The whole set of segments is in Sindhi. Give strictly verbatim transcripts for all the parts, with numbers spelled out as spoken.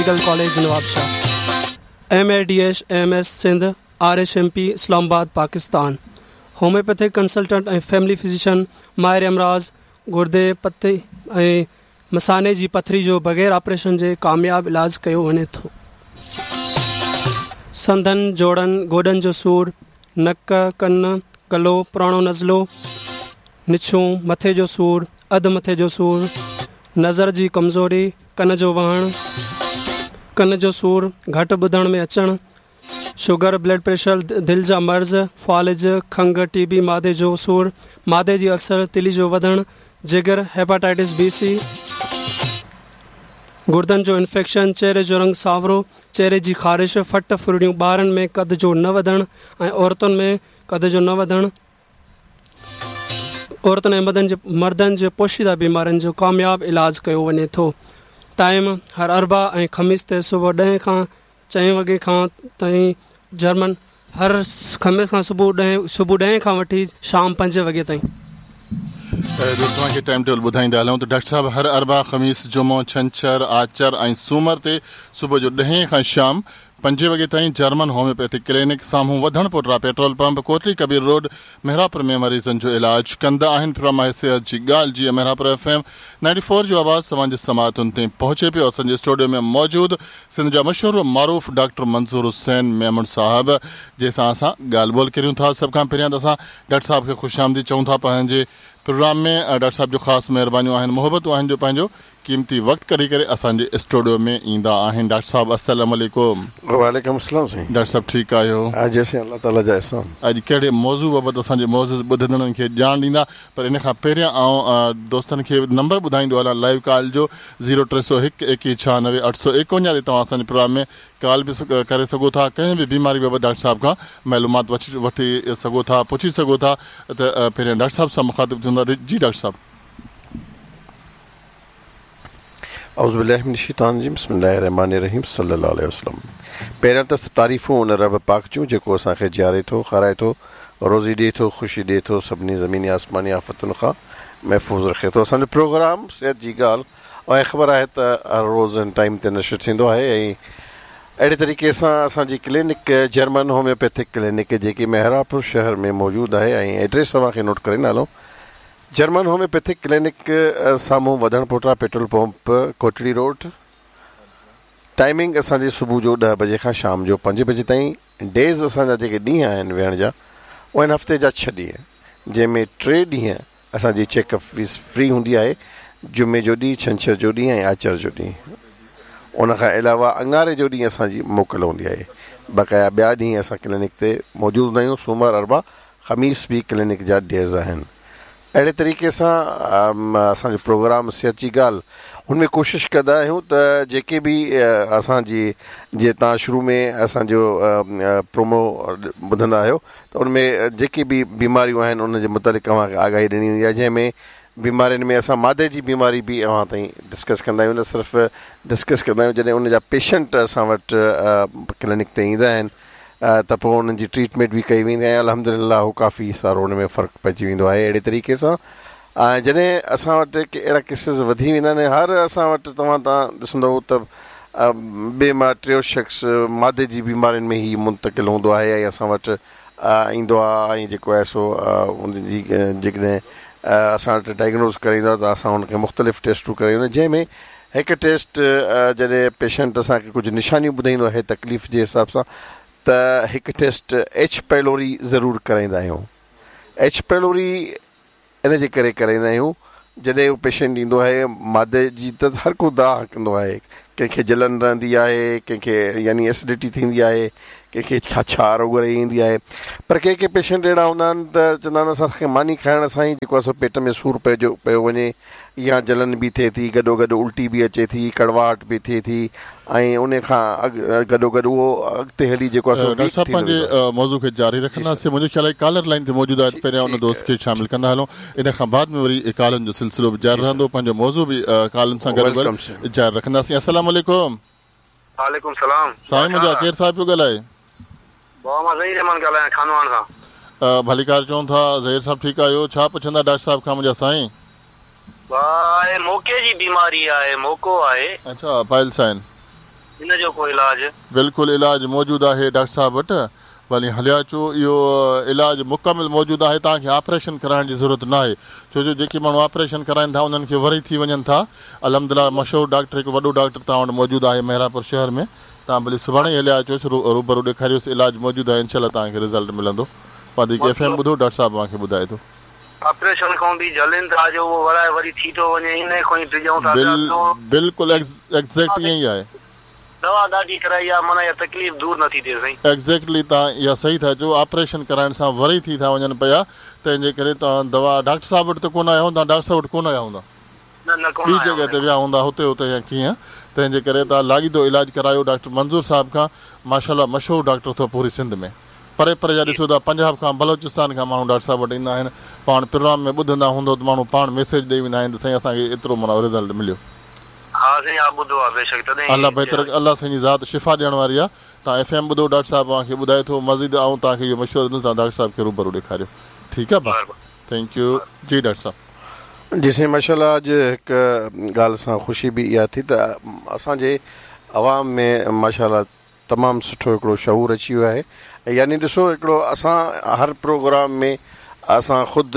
Medical College Nawabshah. M A D H M S Sindh, R H M P Islamabad, Pakistan. Homeopathic consultant ۽ family physician, ماهر امراض گردي، پتي ۽ مثاني جي پٿري جو بغير آپريشن جي ڪامياب علاج ڪيو وڃي ٿو. سنڌن، جوڙن، گوڏن جو سور، نڪ، ڪن، گلو، پراڻو نزلو، نڇون، مٿي جو سور، اڌ مٿي جو سور، نظر جي ڪمزوري، ڪن جو وهڻ، ڪن جو سور، گهٽ ٻڌڻ ۾ اچڻ، شگر، بلڊ پريشر، دل جا مرض، فالج، کنگهه، ٽي بي، معدي جو سور، معدي جي السر، تلي جو وڌڻ، جگر، هيپاٽائٽس بي سي، گردن جو انفيڪشن، چهري جو رنگ سانورو، چهري جي خارش، ڦٽ ڦرڙيون، ٻارن ۾ قد جو نه وڌڻ ۽ عورتن ۾ قد جو نه وڌڻ، عورتن ۽ مردن جي مردن جي پوشيده بيمارين جو ڪامياب علاج ڪيو وڃي ٿو. ٽائيم هر اربع ۽ خميس تي صبح ڏهين کان چئين وڳي کان تائين جرمن هر خميس کان صبح ڏهين صبح ڏهين کان وٺي شام پنجين وڳي تائين. دوستو اوهان کي ٽائيم ٽيبل ٻڌائيندا هلون ته ڊاڪٽر صاحب هر اربع، خميس، جمعو، ڇنڇر، آچر ۽ سومر تي صبح جو ڏهين کان شام پنجين وڳي تائين جرمن هوميوپيٿڪ ڪلينڪ سامهون وڌڻ پوٽرا petrol pump Kotli Kabir road Mehrabpur ۾ مريضن جو علاج ڪندا آهن. پروگرام آهي صحت جي ڳالهه جيئن Mehrabpur F M ninety four جو آواز توهان جي سماعتن تائين پهچي پيو. اسان جي اسٽوڊيو ۾ موجود سنڌ جا مشهور و معروف ڊاڪٽر منظور حسين ميمڻ صاحب جنهن سان اسان ڳالهه ٻولهه ڪريون ٿا. سڀ کان پهريان ته اسان ڊاڪٽر صاحب کي خوش آمديد چئون ٿا پنهنجي پروگرام ۾. ڊاڪٽر صاحب جو خاص مهربانيون آهن، محبتون آهن جو پنهنجو قيمتي وقت ڪڍي ڪري اسان جي اسٽوڊيو ۾ ايندا آهن. ڊاڪٽر صاحب السلام عليڪم. وعليڪم السلام سائين. ڊاڪٽر صاحب ٺيڪ آهيو؟ ها جي سائين الله تعالي جا احسان. اڄ ڪهڙي موضوع بابت اسان جي معزز ٻڌندڙن کي ڄاڻ ڏيندا؟ پر ان کان پهريان آئون دوستن کي نمبر ٻڌائيندو هلان لائيو ڪال جو زيرو ٽي سؤ هڪ ايڪيهه ڇهانوي اٺ سؤ ايڪونجاهه تي توهان اسان جي پروگرام ۾ ڪال به ڪري سگهو ٿا. ڪنهن به بيماري بابت ڊاڪٽر صاحب کان معلومات وٺي سگهو ٿا، پڇي سگهو ٿا. ته پهريان ڊاڪٽر صاحب سان مخاطب ٿيون ٿا. جي ڊاڪٽر صاحب. اعوذ بالله من الشيطان الرجيم بسم الله الرحمن الرحيم صلي الله عليه وسلم. پهريان ته تعريفون ان رب پاڪ جون جيڪو اسان کي جياري ٿو، کارائي ٿو، روزي ڏئي ٿو، خوشي ڏئي ٿو، سڀني زميني آسماني آفتن کان محفوظ رکي ٿو. اسان جو پروگرام صحت جي ڳالهه ۽ خبر آهي ته هر روز هن ٽائيم تي نشر ٿيندو آهي ۽ اهڙي طريقي سان اسان جي ڪلينڪ جرمن هوميوپيٿڪ ڪلينڪ جيڪي مهراپور شهر ۾ موجود آهي ۽ ايڊريس اوهان کي نوٽ ڪري هلون. جرمن هوميوپيٿڪ ڪلينڪ سامهون وڌڻ پوٽرا petrol pump Kotri road. Timing اسان جي صبح جو ڏهه بجي کان شام جو پنج بجي تائين. ڊيز اسان جا جيڪي ڏينهن آهن ويهڻ جا اهي آهن هفتي جا ڇهه ڏينهن، جنهن ۾ ٽي ڏينهن اسان جي چيڪ اپ فيس فري هوندي آهي، جمعي جو ڏينهن، ڇنڇر جو ڏينهن ۽ آچر جو ڏينهن. ان کان علاوه اڱاري جو ڏينهن اسان جي موڪل هوندي آهي. بقايا ٻيا ڏينهن اسان ڪلينڪ تي موجود هوندا آهيون. سومر، اربع، خميس به ڪلينڪ جا ڊيز آهن. اهڙي طريقي سان اسان جو پروگرام صحت جي ڳالهه هن ۾ ڪوشش ڪندا آهيون ته جيڪي به اسان جي جي توهان شروع ۾ اسان جو پرومو ٻڌندا آهيو ته ان ۾ جيڪي به بيماريون آهن ان جي متعلق اوهان کي آگاهي ڏني ويندي آهي، جنهن ۾ بيمارين ۾ اسان مادي جي بيماري به اوهان تائين ڊسڪس ڪندا آهيون. نه صرف ڊسڪس ڪندا آهيون، جڏهن ان جا پيشنٽ اسان وٽ ڪلينڪ تي ايندا آهن ته پوء انهن جي ٽريٽمينٽ به ڪئي ويندي آهي. الحمدلله هو ڪافي سارو ان ۾ فرق پئجي ويندو آهي. اهڙي طريقي سان ۽ جڏهن اسان وٽ ڪي اهڙا ڪيسز وڌي ويندا آهن، هر اسان وٽ توهان تان ڏسندو ته ٻئي مان ٽيون شخص مادي جي بيمارين ۾ ئي منتقل هوندو آهي ۽ اسان وٽ ايندو آهي ۽ جيڪو آهي سو ان جي جيڪڏهن اسان وٽ ڊائگنوز ڪرائيندو آهي ته اسان ان کي مختلف ٽيسٽون ڪرائيندا آهيون، جنهن ۾ هڪ ٽيسٽ جڏهن پيشنٽ اسان کي ڪجهه نشانيون ٻڌائيندو آهي تڪليف جي حساب سان ته هڪ ٽيسٽ ايڇ پيلوري ضرور ڪرائيندا آهيون. ايڇ پيلوري ان جي ڪري ڪرائيندا آهيون جڏهن اهو پيشنٽ ايندو آهي مادي جي ته هر ڪو دانهن ڪندو آهي، ڪنهن کي جلن رهندي آهي، ڪنهن کي يعني ايسڊٽي ٿيندي آهي، ڪنهن کي ڇا ڇار اگري ايندي آهي، پر ڪي ڪي پيشنٽ اهڙا هوندا آهن ته چوندا آهن اسان کي ماني کائڻ سان ئي جيڪو آهي سو پيٽ ۾ سور پئجو پيو وڃي يا جلن به ٿئي ٿي، گڏو گڏ الٽي به اچي ٿي، ڪڙواهٽ به ٿئي ٿي ۽ ان کان اڳ گڏو گڏ اهو اڳتي هلي جيڪو آهي سو ڊاڪٽر ويڪ صاحب ٿيندو پنهنجي ويندو آهي. موضوع کي جاري جي سر. رکنداسين. منهنجو خيال آهي ڪالر لائين تي موجود آهي ته پهريان ان ٺيڪ دوست کي شامل ڪندا هلون، ان کان بعد ۾ وري ڪالن جو سلسلو به جاري جي سر. رهندو، پنهنجو موضوع به ڪالن سان گڏو گڏ welcome سر. جاري رکنداسين. السلام عليڪم. وعليڪم سلام. سائين منهنجا ڪير صاحب پيو ڳالهائي؟ بابا مان ظهير احمد ڳالهايان خانواهڻ کان. ڀليڪار چون ٿا ظهير صاحب، ٺيڪ آهيو؟ ڇا پڇندا ڊاڪٽر صاحب کان منهنجا سائين؟ ڀاء موڪي جي بيماري آهي، موڪو آهي. اڇا پائلس آهن. ان جو ڪو علاج؟ بلڪل علاج موجود آهي ڊاڪٽر صاحب وٽ، ڀلي هليا اچو. اهو علاج مڪمل موجود آهي، توهان کي آپريشن ڪرائڻ جي ضرورت نه آهي، ڇو جو جيڪي ماڻهو آپريشن ڪرائين ٿا انهن کي وري ٿي وڃن ٿا. الحمدلله مشهور ڊاڪٽر، هڪ وڏو ڊاڪٽر توهان وٽ موجود آهي مهراپور شهر ۾. توهان ڀلي سڀاڻي ئي هليا اچوس، روبرو ڏيکاريوس، علاج موجود آهي، انشاء الله توهان کي رزلٽ ملندو. وڌيڪ ايف ايم ٻڌو، ڊاڪٽر صاحب اوهان کي ٻڌائي ٿو. آپريشن کان به جهلين ٿا جو اهو ورائي وري ٿي ٿو وڃي، ان کان ئي ڊڄون ٿا پيا. بلڪل ايگزيڪٽ ائين ئي آهي. دوا ڏاڍي ڪرائي آهي، معنيٰ اها تڪليف دور نٿي ٿئي سائين. ايگزيڪٽلي توهان اها صحيح ٿا چئو، آپريشن ڪرائڻ سان وري ٿي ٿا وڃن پيا، تنهن جي ڪري توهان دوا ڊاڪٽر صاحب وٽ ته ڪونه آيا هوندا؟ ڊاڪٽر صاحب وٽ ڪونه آيا هوندا، نه نه ڪونه ٻي جڳهه تي ويا هوندا هتي هتي يا ڪيئن، تنهن جي ڪري توهان لاڳيتو علاج ڪرايو ڊاڪٽر منظور صاحب کان. ماشاء الله مشهور ڊاڪٽر اٿو پوري سنڌ ۾، پري پري جا ڏسو ٿا، پنجاب کان بلوچستان کان ماڻهو ڊاڪٽر صاحب وٽ ايندا آهن. پاڻ پروگرام ۾ ٻڌندا هوندو ته ماڻهو پاڻ ميسيج ڏئي ويندا آهن ته سائين اسان کي ايترو معنيٰ رزلٽ مليو. ها سائين ها ٻڌو آهي بيشڪ تڏهن. الله بهتر، الله سائين جي ذات شفا ڏيڻ واري آهي. توهان ايف ايم ٻڌو، ڊاڪٽر صاحب اوهان کي ٻڌائي ٿو مزيد. آئون توهان کي اهو مشورو ڏيندس توهان ڊاڪٽر صاحب کي روبرو ڏيکاريو. ٺيڪ آهي ڀاء، thank you. جي ڊاڪٽر صاحب. جي سائين ماشاء الله اڄ هڪ ڳالهه سان خوشي به اها ٿي ته اسان جي عوام ۾ ماشاء الله تمام سٺو هڪڙو شعور اچي ويو آهي. يعني ڏسو هڪڙو اسان هر پروگرام ۾ اسان خود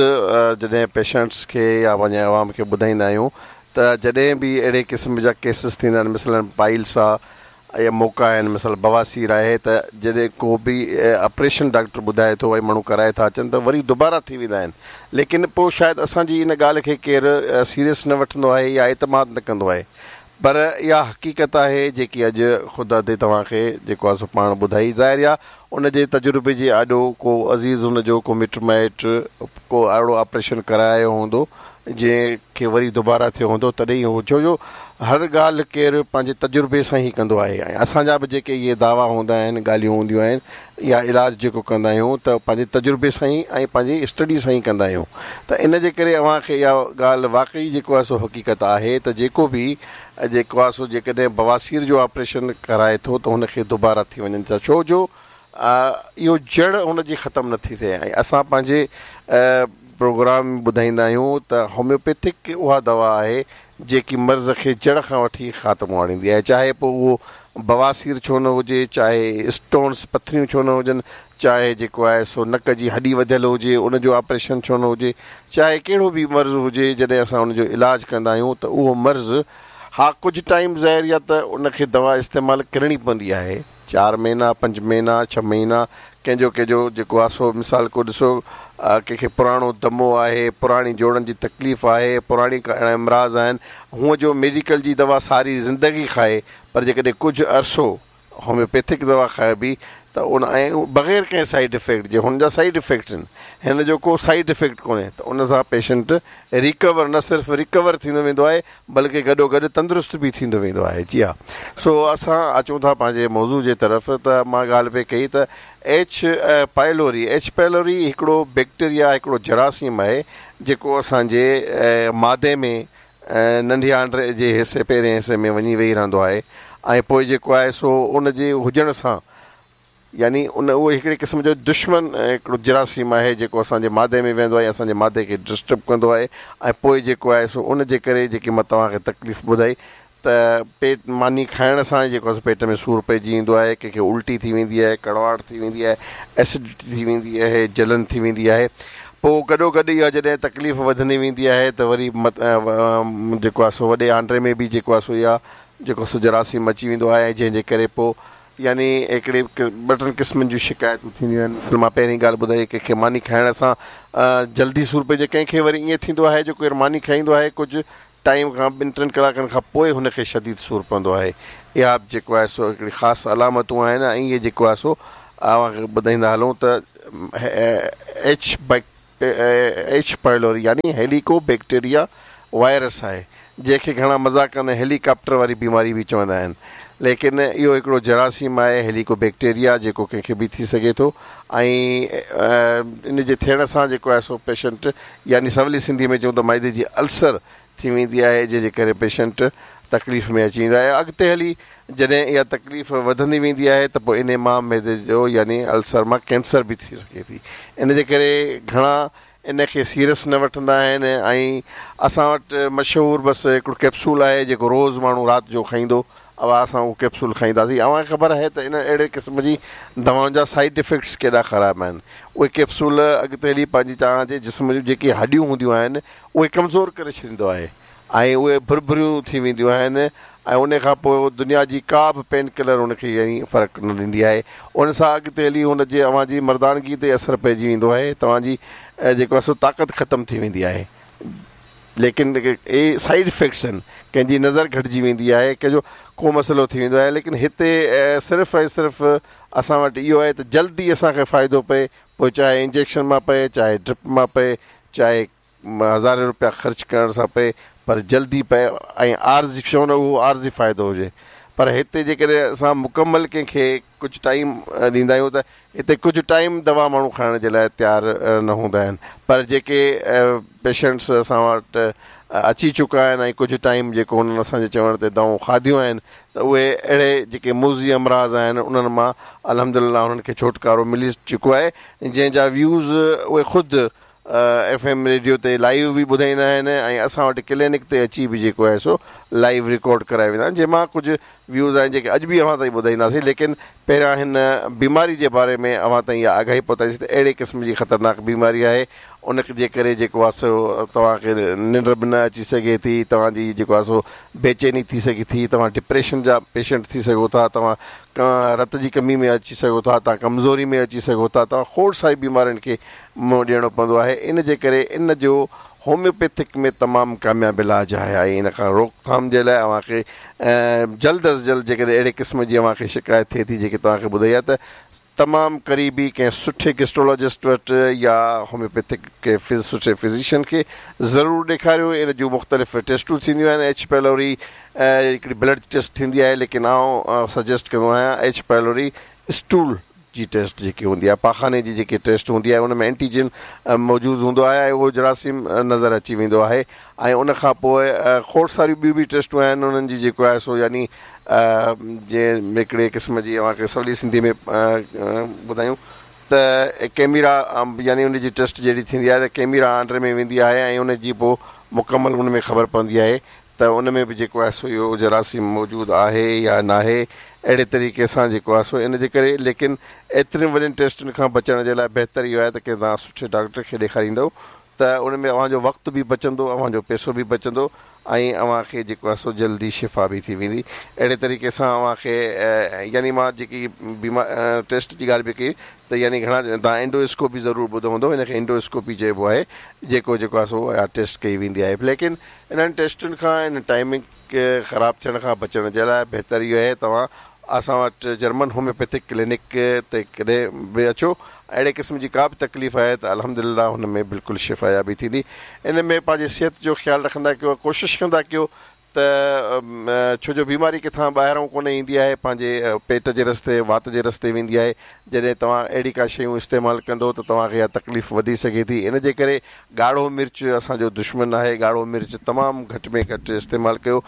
جڏهن پيشنٽس کي يا پنهنجي عوام کي ٻڌائيندا آهيون ته جڏهن به اهڙي قسم جا ڪيسز ٿيندا آهن، مثلاً پائلس آهي يا موڪا آهن، مثال بواسير آهي، ته جڏهن ڪو به آپريشن ڊاڪٽر ٻڌائي ٿو ۽ ماڻهو ڪرائي ٿا اچن ته وري دوباره ٿي ويندا آهن. ليڪن پوء شايد اسان جي ان ڳالهه کي ڪير سيريس نه وٺندو آهي يا اعتماد نه ڪندو آهي، پر اها حقيقت آهي جيڪي اڄ خود ادي توهان کي جيڪو آهي سو پاڻ ٻڌائي. ظاهر آهي ان جي تجربي جي آڏو ڪو عزيز هن جو ڪو مٽ مائٽ ڪو اهڙو آپريشن ڪرايو هوندو جنهن کي وري دوباره ٿيو هوندو، تڏهن هو، ڇو جو هر ڳالهه ڪير پنهنجي تجربي سان ئي ڪندو آهي. ۽ اسان جا به جيڪي اهي دعوا هوندا آهن، ڳالهيون هونديون آهن يا علاج جيڪو ڪندا آهيون ته پنهنجي تجربي سان ئي ۽ پنهنجي اسٽڊي سان ئي ڪندا آهيون. ته ان جي ڪري اوهان کي اها ڳالهه واقعي جيڪو آهي سو حقيقت آهي ته جيڪو به جيڪو آهي سو جيڪڏهن بواسير جو آپريشن ڪرائي ٿو ته هن کي دوباره ٿي وڃن ٿا، ڇو جو اهو جڙ هن جي ختم نٿي ٿئي. ۽ اسان پنهنجي پروگرام ۾ ٻڌائيندا آهيون ته هوميوپيٿڪ اها دوا آهي جيڪي مرض کي جڙ کان وٺي خاتمو آڻيندي آهي، چاهي پوء اهو بواسير ڇو نه هجي، چاهي اسٽونس پٿريون ڇو نه هجن، چاهي جيڪو آهي سو نڪ جي هڏي وڌيل هجي ان جو آپريشن ڇو نه هجي، چاهي ڪهڙو به مرض هجي، جڏهن اسان ان جو علاج ڪندا آهيون ته اهو مرض ها ڪجهه ٽائيم ظاهر يا ته ان کي دوا استعمال ڪرڻي پوندي آهي، چار مهينا، پنج مهينا، ڇهه مهينا، ڪنهن جو ڪنهن جو جيڪو آهي سو مثال ڪو ڏسو ڪنهن کي پراڻو دمو آهي، پراڻي جوڙن جي تڪليف آهي، پراڻي اهڙا امراض آهن، هونء جو ميڊيڪل جي دوا ساري زندگي کائي، پر جيڪڏهن ڪجهه عرصو هوميوپيٿڪ دوا کائبي ته ان ۽ بغير ڪنهن سائيڊ افيڪٽ جي، هن جا سائيڊ افيڪٽ آهن، هن جو ڪو سائيڊ افيڪٽ ڪونهي، ته ان سان پيشنٽ ريڪور نه صرف ريڪور ٿيندو ويندو آهي بلڪه گڏو گڏ تندرست به ٿيندو ويندو آهي. جي ها، سو اسان اچون ٿا پنهنجي موضوع جي طرف. ته مان ڳالهه پئي ڪئي ته ايڇ پائلوري، ايڇ پائلوري هڪڙو بيڪٽيريا، هڪڙو جراثيم آهي جيڪو اسان جي مادي ۾ ننڍي آنڊري جي حصي پهرين حصي ۾ وڃي ويهي رهندو آهي ۽ پوء جيڪو آهي سو ان جي هجڻ سان يعني ان اهو هڪڙي قسم جو دشمن هڪڙو جراثيم آهي جيڪو اسان جي مادي ۾ ويندو آهي، اسان جي مادي کي ڊسٽرب ڪندو آهي ۽ پوء جيڪو آهي سو ان جي ڪري جيڪي مان توهان کي تڪليف ٻڌائي ته پيٽ ماني کائڻ سان جيڪو آهي پيٽ ۾ سور پئجي ايندو آهي، ڪنهن کي الٽي ٿي ويندي آهي، ڪڙواهٽ ٿي ويندي آهي، ايسڊٽي ٿي ويندي آهي، جلن ٿي ويندي آهي. پوء گڏو گڏ اها جڏهن تڪليف وڌندي ويندي آهي ته وري جيڪو آهي سو وڏي آنڊري ۾ به جيڪو آهي سو اها جيڪو سو جراثيم اچي ويندو آهي، جنهن جي ڪري پوء يعني هڪڙي ٻه ٽن قسمن جون شڪايتون ٿينديون آهن. مثال مان پهرين ڳالهه ٻڌائي ڪنهن کي ماني کائڻ سان جلدي سور پئجي، ڪنهن کي وري ائين ٿيندو آهي جو ڪير ماني کائيندو آهي ڪجهه ٽائيم کان ٻن ٽن ڪلاڪن کان پوء هن کي شديد سور پوندو آهي. اها به جيڪو آهي سو هڪڙي خاص علامتون آهن ۽ اهي جيڪو آهي سو اوهان کي ٻڌائيندا هلون ته ايڇ ايڇ پائلوري يعني هيليڪو بيڪٽيريا وائرس آهي، جنهن کي گهڻا مذاق ڪندي هيليڪاپٽر واري بيماري به چوندا آهن، ليڪن اهو هڪڙو جراثيم آهي هيليڪو بيڪٽيريا جيڪو ڪنهن کي به ٿي سگهي ٿو ۽ ان جي ٿيڻ سان جيڪو آهي سو پيشنٽ يعني سولي سنڌي ۾ چئون ته معدي جي السر ٿي ويندي آهي، جنهن جي ڪري پيشنٽ تڪليف ۾ اچي ويندو آهي. اڳتي هلي جڏهن اها تڪليف وڌندي ويندي آهي ته پوء انهي مان معدي جو يعني السر مان ڪينسر به ٿي سگهي ٿي. ان جي ڪري گهڻا ان کي سيريس نه وٺندا آهن ۽ اسان وٽ مشهور بس هڪڙو ڪيپسول آهي جيڪو روز ماڻهو رات جو کائيندو اها اسان اهو ڪيپسول کائينداسين. اوهان کي خبر آهي ته ان اهڙي قسم جي دوائن جا سائيڊ افيڪٽس ڪيڏا خراب آهن. اهي ڪيپسول اڳتي هلي پنهنجي توهان جي جسم جون جيڪي هڏيون هونديون آهن اهي ڪمزور ڪري ڇڏيندو آهي ۽ اهي ڀرڀريون ٿي وينديون آهن ۽ ان کان پوءِ دنيا جي ڪا به پين ڪلر ان کي يعني فرق نه ڏيندي آهي. ان سان اڳتي هلي هن جي اوهان جي مردانگي تي اثر پئجي ويندو آهي، توهان جي جيڪو آهي سو طاقت ختم ٿي ويندي آهي. ليڪن اهي سائيڊ افيڪٽس آهن، ڪنهن جي نظر گهٽجي ويندي آهي، ڪنهن جو ڪو مسئلو ٿي ويندو آهي. ليڪن هتي صرف ۽ صرف اسان وٽ اهو آهي ته جلدي اسان کي فائدو پئي، پوءِ چاهي انجيڪشن مان پئي، چاهي ڊرپ مان پئي، چاهي هزارين رپيا خرچ ڪرڻ سان پئي، پر جلدي پئي ۽ عارضي ڇو نه اهو عارضي فائدو هجي. پر هتي جيڪڏهن اسان مڪمل ڪنهن کي ڪجهه ٽائيم ڏيندا آهيون ته هتي ڪجهه ٽائيم دوا ماڻهو کائڻ جي لاءِ تيار نه هوندا آهن. پر جيڪي پيشنٽس اسان وٽ اچي چڪا آهن ۽ ڪجهه ٽائيم جيڪو هنن اسان جي چوڻ تي دوائون کاڌيون آهن ته اهي اهڙي جيڪي موذي امراض آهن انهن مان الحمدلله هنن کي ڇوٽڪارو ملي چڪو آهي، جنهن جا ويوز اهي خود ايف ايم ريڊيو تي لائيو به ٻڌائيندا آهن ۽ اسان وٽ ڪلينڪ تي اچي به جيڪو آهي سو لائيو رڪارڊ ڪرائي ويندا آهن، جنهن مان ڪجهه ويوز آهن جيڪي اڄ به اوهان تائين ٻڌائينداسين. ليڪن پهريان هن بيماري جي باري ۾ اوهان تائين اها آگاهي پهتائينداسين ته اهڙي قسم جي خطرناڪ بيماري آهي، ان جي ڪري جيڪو آهي سو توهان کي ننڊ به نه اچي سگهي ٿي، توهان جي جيڪو آهي سو بيچيني ٿي سگهي ٿي، توهان ڊپريشن جا پيشنٽ ٿي سگهو ٿا، توهان رت جي ڪمي ۾ اچي سگهو ٿا، توهان ڪمزوري ۾ اچي سگهو ٿا، توهان کوڙ ساري بيمارين کي منهن ڏيڻو پوندو آهي. ان جي ڪري ان جو هوميوپيٿڪ ۾ تمام ڪامياب علاج آهي ۽ ان کان روڪٿام جي لاءِ اوهان کي جلد از جلد جيڪڏهن اهڙي قسم جي اوهان کي شڪايت ٿئي ٿي جيڪي توهان کي ٻڌائي آهي ته تمام قريبي ڪنهن سٺي گيسٽرولاجسٽ وٽ يا هوميوپيٿڪ ڪنهن سٺي فزيشن کي ضرور ڏيکاريو. ان جون مختلف ٽيسٽون ٿينديون آهن، ايڇ پيلوري هڪڙي بلڊ ٽيسٽ ٿيندي آهي، ليڪن آئون سجيسٽ ڪندو آهيان ايڇ پيلوري اسٽول جي ٽيسٽ جيڪي هوندي آهي، پاخاني جي جيڪي ٽيسٽ هوندي آهي ان ۾ اينٽيجن موجود هوندو آهي ۽ اهو جراثيم نظر اچي ويندو آهي. ۽ ان کان پوءِ کوڙ ساريون ٻيون به ٽيسٽون آهن انهن جي جيڪو آهي سو يعني جيئن هڪڙي قسم جي اوهان کي سولي سنڌي ۾ ٻڌايون ته ڪيميرا يعني ان جي ٽيسٽ جهڙي ٿيندي آهي ته ڪيميرا آنڊري ۾ ويندي آهي ۽ ان جي پوءِ مڪمل ان ۾ خبر پوندي آهي ته ان ۾ به جيڪو آهي سو اهو جراثيم موجود آهي يا ناهي. اهڙي طريقي سان جيڪو آهي سو ان جي ڪري ليڪن ايترين وڏين ٽيسٽن کان بچڻ جي لاءِ بهتر اهو آهي ته ڪنهن توهان سٺي ڊاڪٽر کي ڏيکاريندؤ ته ان ۾ اوهان جو وقت به بچندو، اوهان جو پئسو به بچندو ۽ اوهان کي جيڪو آهي سو جلدي شفا به ٿي ويندي. اهڙي طريقي سان اوهان کي يعني مان جيڪي بيمار ٽيسٽ جي ڳالهه به ڪئي ته يعني گهڻا توهان اينڊوسڪوپي ضرور ٻڌو هوندو، هن کي اينڊوسڪوپي چئبو آهي، جيڪو جيڪو آهي سو اها ٽيسٽ ڪئي ويندي آهي. ليڪن انهن ٽيسٽن کان ان ٽائيمنگ خراب ٿيڻ کان بچڻ جي لاءِ بهتر اهو آهي توهان اسان وٽ جرمن هوميوپيٿڪ ڪلينڪ تي ڪڏهن به اچو. اهڙي قسم جي ڪا به تڪليف آهي ته الحمدلله هن ۾ بلڪل شفايابي ٿيندي. ان ۾ پنهنجي صحت جو خيال رکندا ڪيو، ڪوشش ڪندا ڪيو ته ڇو جو بيماري ڪٿان ٻاهران ڪونه ايندي آهي، پنهنجي پيٽ جي رستي وات جي رستي ويندي آهي. جڏهن توهان اهڙي ڪا شيون استعمال ڪندو ته توهان کي اها تڪليف وڌي سگهي ٿي. ان جي ڪري ڳاڙهو مرچ اسان جو دشمن آهي، ڳاڙهو مرچ تمام گهٽ ۾ گهٽ استعمال ڪيو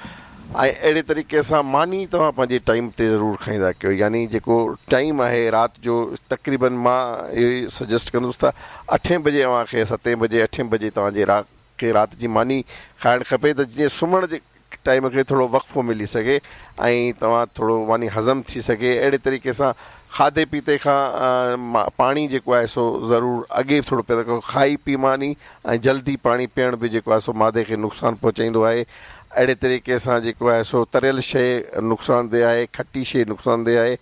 ۽ اهڙي طريقي سان ماني توهان پنهنجي ٽائيم تي ضرور کائيندا ڪيو. يعني جيڪو ٽائيم آهي رات جو تقريبن مان اهو ئي سجيسٽ ڪندس ته اٺين بجي اوهان کي ستين بجي اٺين بجي توهان جي رات کي رات جي ماني کائڻ کپي ته جيئن سمهڻ جي ٽائيم کي ٿورو وقفو ملي سگهي ۽ توهان ٿورو ماني هضم ٿي سگهي. اهڙي طريقي سان کاڌي پيتي کان پاڻي جيڪو آهي سو ضرور اڳي ٿورو پيئندا ڪيو، کائي پي ماني ۽ جلدي پاڻي پيئڻ به جيڪو آهي سو مادي کي نقصان پهچائيندو آهي. اهڙي طريقي سان جيڪو آهي سو تريل شيءِ نقصاندهه آهي، کٽي شيءِ نقصاندهه آهي.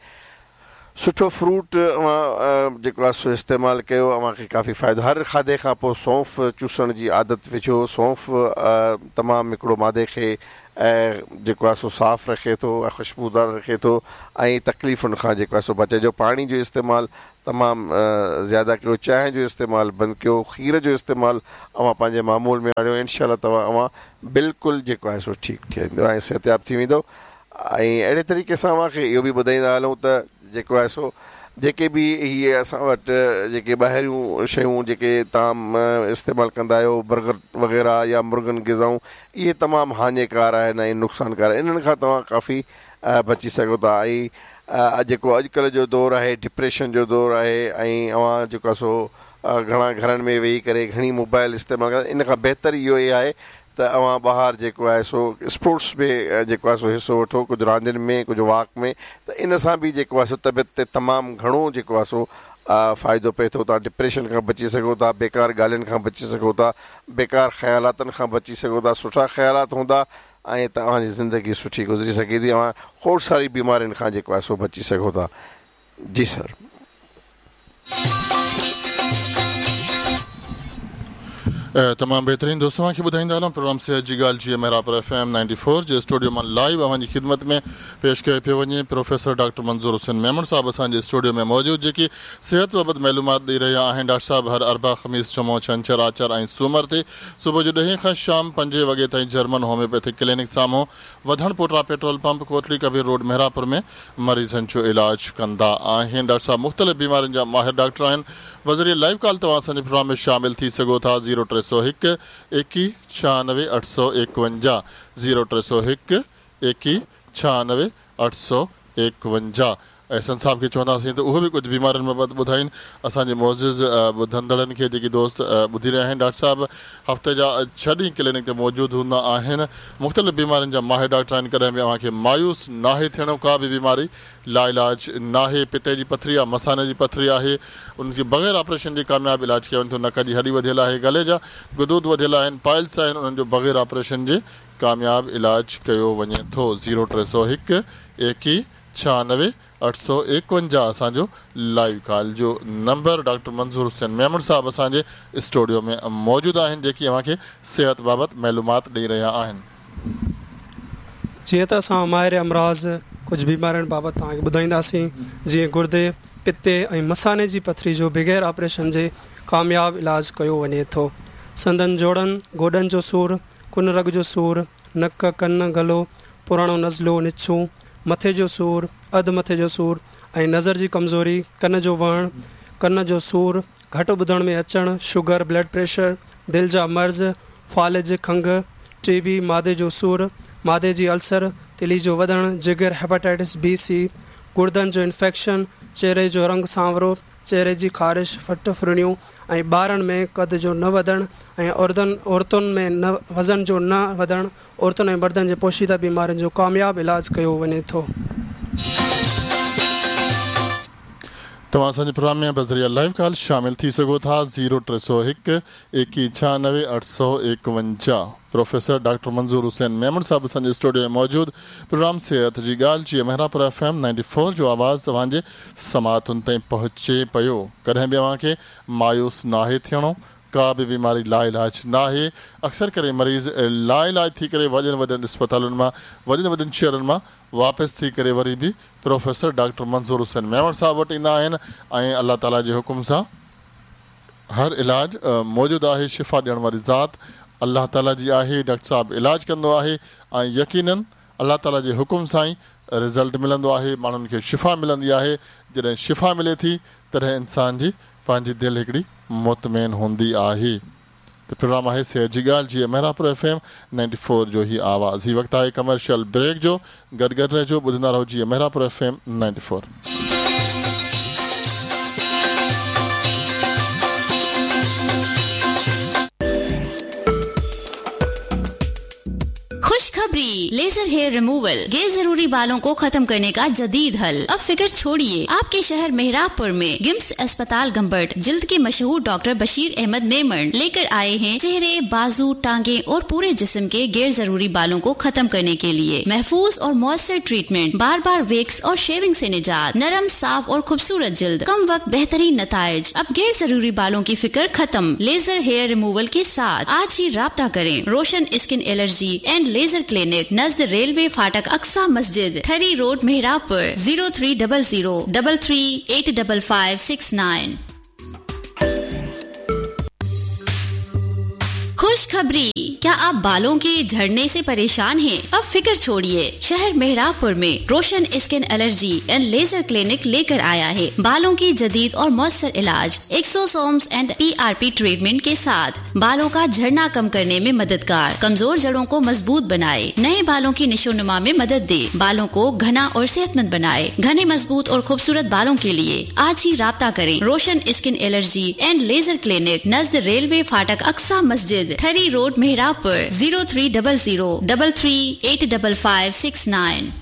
سٺو فروٽ اوهان جيڪو آهي سو استعمال ڪيو، اوهان کي ڪافي فائدو. هر کاڌي کان پوءِ سونف چوسڻ جي عادت وجهو. سونف تمام هڪڙو مادي کي جيڪو آهي سو صاف رکي ٿو ۽ خوشبودار رکي ٿو ۽ تڪليفن کان جيڪو آهي سو بچائي جو. پاڻي جو استعمال تمام زياده ڪيو، چانهه جو استعمال بند ڪيو، کير جو استعمال اوهان پنهنجي معمول ۾ آڻيو. انشا الله توهان اوهان بلڪل جيڪو آهي سو ٺيڪ ٿي ويندو ۽ صحتياب ٿي ويندو. ۽ اهڙي طريقي سان اوهان کي اهو به ٻڌائيندا هلون ته جيڪو آهي سو جيڪي به اهي اسان وٽ جيڪي ٻاهريون شيون جيڪي توهان استعمال ڪندا آهيو، برگر وغيره يا مرغن غذائون، اهي تمام هاڃيڪار آهن ۽ نقصانڪار آهن. انهن کان توهان ڪافي بچي سگهو ٿا. ۽ جيڪو اڄڪلهه جو دور آهي ڊپريشن جو دور آهي ۽ اوهان جيڪو آهي سو گهڻا گهرن ۾ ويهي ڪري گهڻي موبائل استعمال ڪندا، ان کان بهتر اهو ئي آهي त अव्हां ॿाहिरि जेको आहे सो स्पोर्ट्स में जेको आहे सो हिसो वठो, कुझु रांदियुनि में, कुझु वॉक में, त इन सां बि जेको आहे सो तबियत ते तमामु घणो जेको आहे सो फ़ाइदो पए थो। तव्हां डिप्रेशन खां बची सघो था, बेकार ॻाल्हियुनि खां बची सघो था, बेकार ख़यालातनि खां बची सघो था, सुठा ख़यालात हूंदा ऐं तव्हांजी ज़िंदगी सुठी गुज़री सघे थी, अव्हां खोड़ सारी बीमारियुनि खां जेको आहे सो बची सघो था। जी सर। तमामु बहितरीन दोस्तों तव्हांखे ॿुधाईंदा हलूं प्रोग्राम सेहत जी ॻाल्हि जीअं Mehrapur F M ninety four जे स्टूडियो मां लाइव अव्हांजी ख़िदमत में पेश कयो पियो वञे। प्रोफेसर डॉक्टर मंज़ूर हुसैन मेमण साहिबु असांजे स्टूडियो में मौजूदु जेके सिहत बाबति मालूमात ॾेई रहिया आहिनि। डॉक्टर साहिबु हर अरबा, ख़मीस, जुमो, छंछर, आचर ऐं सूमर ते सुबुह जो ॾहें खां शाम पंजे वॻे ताईं जर्मन होम्योपैथिक क्लिनिक साम्हूं वधण पोटरा petrol pump Kotli Kabir road Mehrapur में मरीज़नि जो इलाज कंदा आहिनि। डॉक्टर साहिबु मुख़्तलिफ़ बीमारियुनि जा माहिर डॉक्टर आहिनि। बज़रिए लाइव कॉल तव्हां असांजे प्रोग्राम में शामिल थी सघो था। ज़ीरो टे सौ हिकु एकवीह छियानवे अठ सौ एकवंजाह, ज़ीरो टे सौ हिकु एकवीह छियानवे अठ सौ एकवंजाह। एहसन साहिब खे चवंदासीं त उहो बि कुझु बीमारियुनि बाबति ॿुधाइनि असांजे मोज़िज़ ॿुधंदड़नि खे, जेके दोस्त ॿुधी रहिया आहिनि। डॉक्टर साहिबु हफ़्ते जा छह ॾींहं क्लिनिक ते मौजूदु हूंदा आहिनि। मुख़्तलिफ़ बीमारियुनि जा माहिर डॉक्टर आहिनि। कॾहिं बि अव्हांखे मायूस नाहे थियणो, का बि बीमारी लाइलाज नाहे। पिते जी पथरी आहे, मसाने जी पथरी आहे, उनखे बग़ैर ऑपरेशन जे कामयाबु इलाज कयो वञे थो। नक जी हॾी वधियल आहे, गले जा गुदूद वधियल आहिनि, पाइल्स आहिनि, उन्हनि जो बग़ैर ऑपरेशन जे कामयाबु इलाज कयो वञे थो। ज़ीरो टे सौ हिकु एकवीह छियानवे अठ सौ एकवंजाह असांजो लाइव कॉल जो नंबर। डॉक्टर मंज़ूर हुसैन मेमण साहिबु असांजे स्टूडियो में मौजूदु आहिनि जेके अव्हांखे सिहत बाबति मालूमात ॾेई रहिया आहिनि। जीअं त असां माहिर अमराज़ कुझु बीमारियुनि बाबति तव्हांखे ॿुधाईंदासीं, जीअं गुर्दे, पित्ते ऐं मसाने जी पथरी जो बग़ैर ऑपरेशन जे कामयाबु इलाज कयो वञे थो। संदन जोड़नि, गोॾनि जो सूर, कुन रग जो सूर, नक, कन, गलो, पुराणो नज़लो, निछूं, मथे जो सूर, अधु मथे जो सूर ऐं नज़र जी कमज़ोरी, कन जो वहण, कन जो सूर, घटि ॿुधण में अचणु, शुगर, ब्लड प्रेशर, दिलि जा मर्ज़, फ़ालिज, खंघ, टीबी, मादे जो सूर, मादे जी अल्सर, तिली जो वधणु, जिगर, हेपाटाइटिस बी सी, गुर्दनि जो इन्फेक्शन, चेहरे जो रंग सांवरो, चेहरे जी ख़ारिश, फट फुरणियूं ऐं ॿारनि में क़द जो न वधणु ऐं औरतुनि औरतुनि में न वज़न जो न वधणु, औरतुनि ऐं मर्दनि जे पोशीदा बीमारियुनि जो कामयाबु इलाज कयो वञे थो। तव्हां असांजे प्रोग्राम में बज़रिया लाइव कॉल शामिल थी सघो था। ज़ीरो टे सौ हिकु एकवीह छियानवे अठ सौ एकवंजाह। प्रोफेसर डॉक्टर मंज़ूर हुसैन मेमण साहिबु असांजे स्टूडियो में मौजूदु। प्रोग्राम सेहत जी ॻाल्हि जीअं Mehrapur F M ninety four जो आवाज़ तव्हांजे समातुनि ताईं पहुचे पियो। कॾहिं बि अव्हांखे मायूस नाहे थियणो, का बि बीमारी लाइलाज नाहे। अक्सर करे मरीज़ लाइलाज थी करे वॾनि वॾनि अस्पतालुनि मां, वॾनि वॾनि शहरनि मां वापसि थी करे वरी बि प्रोफेसर डॉक्टर मंज़ूर हुसैन मेमण साहिबु वटि ईंदा आहिनि ऐं अलाह ताला जे हुकुम सां हर इलाज मौजूदु आहे। शिफ़ा ॾियण वारी ज़ात अलाह ताला जी आहे। डॉक्टर साहिबु इलाज कंदो आहे ऐं यकीनन अलाह ताला जे हुकुम सां ई रिज़ल्ट मिलंदो आहे, माण्हुनि खे शिफ़ा मिलंदी आहे। जॾहिं शिफ़ा मिले थी तॾहिं इंसान जी पंहिंजी दिलि हिकिड़ी मुतमैन हूंदी आहे। त प्रोग्राम आहे सेहत जी ॻाल्हि जीअं Mehrapur F M ninety four जो ही आवाज़। ही वक़्तु आहे कमर्शियल ब्रेक जो। गॾु गॾु रहिजो, ॿुधंदा रहो जीअं Mehrapur F M ninety four. खुशखबरी, लेजर हेयर रिमूवल, गैर जरूरी बालों को खत्म करने का जदीद हल। अब फिक्र छोड़िए, आपके शहर मेहराबपुर में गिम्स अस्पताल गंबट जिल्द के मशहूर डॉक्टर बशीर अहमद मेमन लेकर आए हैं चेहरे, बाजू, टांगे और पूरे जिस्म के गैर जरूरी बालों को खत्म करने के लिए महफूज और मौसर ट्रीटमेंट, बार बार वेक्स और शेविंग से निजात, नरम, साफ और खूबसूरत जिल्द, कम वक्त बेहतरीन नताइज। अब गैर जरूरी बालों की फिक्र खत्म, लेजर हेयर रिमूवल के साथ आज ही राब्ता करें। Roshan skin allergy and laser clinic, नज़द railway फाटक, Aqsa Masjid, Thari road, Mehrabpur. Zero three double zero double three eight double five six nine. खुशखबरी, क्या आप बालों के झड़ने से परेशान हैं? अब फिक्र छोड़िए, शहर मेहराबपुर में Roshan skin allergy and laser clinic लेकर आया है बालों की जदीद और मौसर इलाज, exosomes and PRP treatment के साथ बालों का झड़ना कम करने में मददगार, कमजोर जड़ों को मजबूत बनाए, नए बालों की निशोनुमा में मदद दे, बालों को घना और सेहतमंद बनाए। घने, मजबूत और खूबसूरत बालों के लिए आज ही राब्ता करें। Roshan skin allergy and laser clinic, नज़द railway फाटक, Aqsa Masjid, Thari road, Mehrabpur. Mehrabpur zero three double zero double three eight double five six nine.